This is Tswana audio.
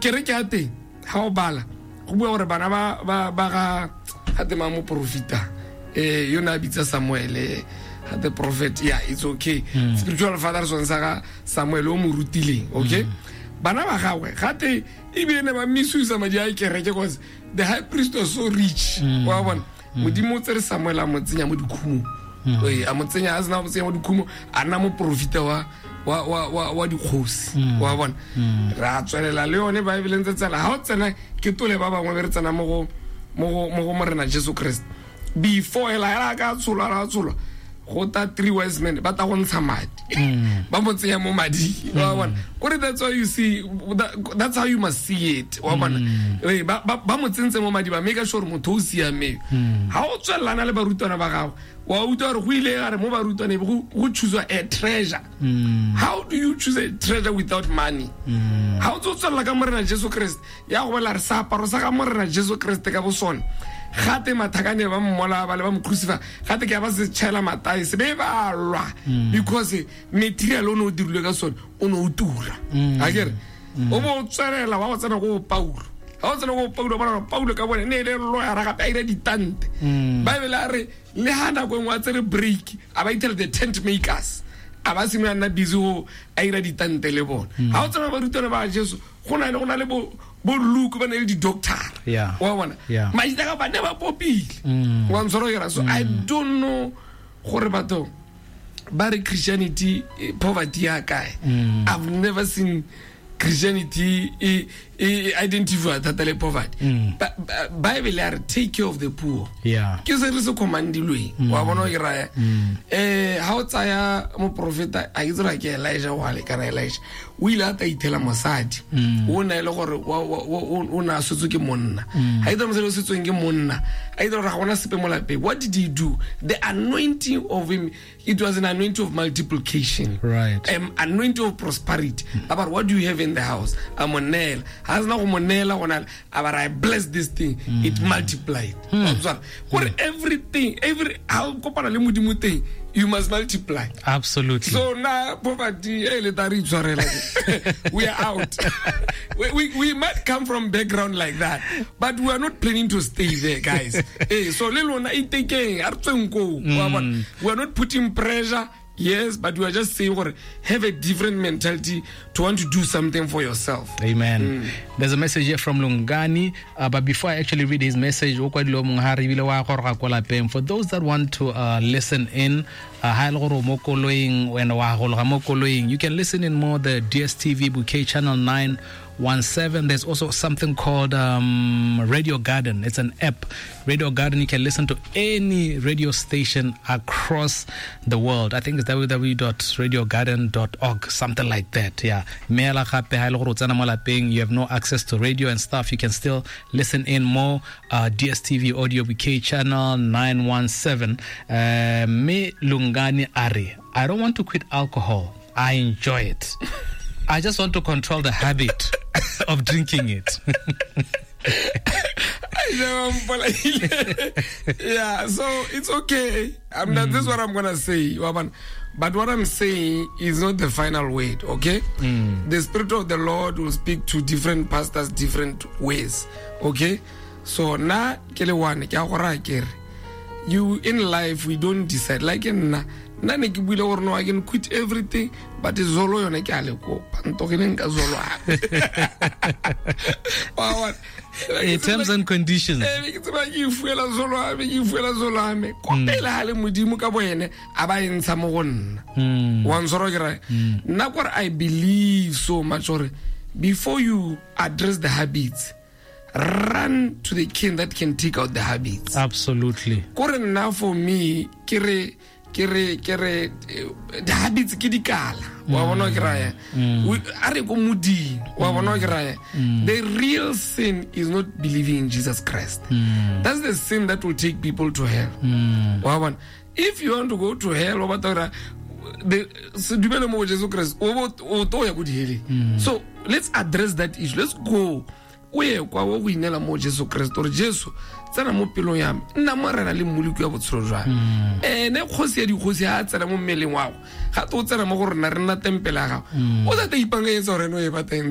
Kereke ya teng ga o bala go bua gore bana ba ga ga tema moporofita yo ne a bitsa Samuel ga the prophet. Yeah, it's okay. Spiritual father sone sa ga Samuel o mo rutileng, okay. Bana ba gagwe gate ebile ne ba misusa madi a kereke cause the high priest was so rich. Wa bona, Modimo o tsere Samuel a mo tsenya mo dikhumong. Ee, a mo tsenya, a sena mo tsenya mo dikhumo, a nna moporofita wa dikgosi. Wa bona, re a tswelela le yone Bible ntse tsela ga o tsena ke tole ba bangwe be re tsena mo go Morena Jesu Christ. Before hela hela ka tsholwa, ra tsholwa, go ta three wise men ba ta go ntsha madi, ba mo tsenya mo mading. Wa bona, kore that's why you see that's how you must see it. Wa bona, ee, ba mo tsentse mo madi, ba make sure motho o siameng. Ga o tswelelana le barutwana ba gago, wa utlwa gore go ile gare mo barutwane go choose a treasure. How do you choose a treasure without money? Ga o tse o tswelela ka Morena Jesu Kriste, ya go bolela re seaparo sa ga Morena Jesu Kriste ka bo sone, gate mathakane ba mmola ba le ba mo crucify, gate ke ya ba se tšhela matai se be ba lwa because material o ne o dirilwe ka sone o ne o tura. A kere o bo o tswelela wa go tsena ko Paulo, ga o tsena ko Paulo, bona gore Paulo ka bone ne e le lawyer, gape a ira ditante. Bible a re le ha nako e nngwe a tsere break, a ba ithela the tent makers, a ba simolola nna busy go a ira ditante le bona. Ga o tsena barutwana ba Jesu, go na le bo Luke, ba ne le di-doctor. Wa bona, maitaka ka ba ne ba popile. Wa ntshwara ke ra, so I don't know gore batho ba re Christianity poverty ya kae. I've never seen Christianity e identify thata le poverty. Bible ya re take care of the poor. Ke se re se commandilweng. Wa bona o ke raya, ha o tsaya moprofeta, a ke tsela ke Elijah wa le kana Elijah o ile a ta ithela mosadi o na e le gore o ne a swetswe ke monna. Ha itse mosadi o setsweng ke monna, a itse gore ga gona sepe mo lapeng. What did he do? The anointing of him, it was an anointing of multiplication, anointing of prosperity. A ba re, "What do you have in the house?" A mo neela. Ha sena go mo neela gona, a ba re, "I bless this thing." It multiplied. Wa tshwara gore everything, every ha o kopana le Modimo teng, you must multiply. Absolutely. So na poverty e le tla re itshwarela, we are out. We might come from background like that, but we are not planning to stay there, guys. So le lona itekeng, a re tsweng koo. Wa bona, we are not putting pressure, yes, but we are just saying gore have a different mentality to want to do something for yourself. Amen. There's a message here from Lungani, but before I actually read his message, o kwadile o mongwe ha re ebile wa goroga kwa lapeng. For those that want to listen in, ha e le gore o mo koloing, wena wa gologa mo koloing, you can listen in more the DSTV Bouquet channel 917. There's also something called Radio Garden. It's an app. Radio Garden, you can listen to any radio station across the world. I think it's www.radiogarden.org, something like that. Yeah. Meela gape ha e le gore o tsena mo lapeng, you have no access to radio and stuff, you can still listen in more DSTV Audio Bouquet channel 917. Me Lungani Ari, "I don't want to quit alcohol. I enjoy it. I just want to control the habit of drinking it." Yeah, so it's okay. I'm not, this is what I'm gonna say. Wa bona? But what I'm saying is not the final word, okay? The Spirit of the Lord will speak to different pastors different ways, okay? So na ke le one ke a go raya ke re you in life we don't decide like nna nna ne ke buile gore no, I can quit everything, but zolo yone ke a le kopa ntogeleng ka zolo gape. Wa bona? Terms and conditions. Ke tseba ke ifuela zolo ame, ke ifuela zolo ame ko pele ga le Modimo ka bo ene a ba e ntsha mo go nna. Wa ntshwara ke raya nna kore I believe so much gore before you address the habits, run to the king that can take out the habits. Kore nna for me ke re the habits ke dikala. Wa bona ke raya, a re ko modimo. Wa bona ke raya, the real sin is not believing in Jesus Christ. That's the sin that will take people to hell. Wa bona, if you want to go to hell, wa batla gore the se dumele mo go Jesu Christ, o to ya ko diheleng. So let's address that issue. Let's go. O ye kwa o go inela mo Jesu Kriste, gore Jesu, tsena mo pelong ya me, nna Morena le Mmoloki wa botshelo jwa me. Ene kgosi ya dikgosi ga a tsena mo mmeleng wago, ga te o tsena mo go rona, re nna tempele ya gago. O sa te ipankanyetsa gore ene o e batantse.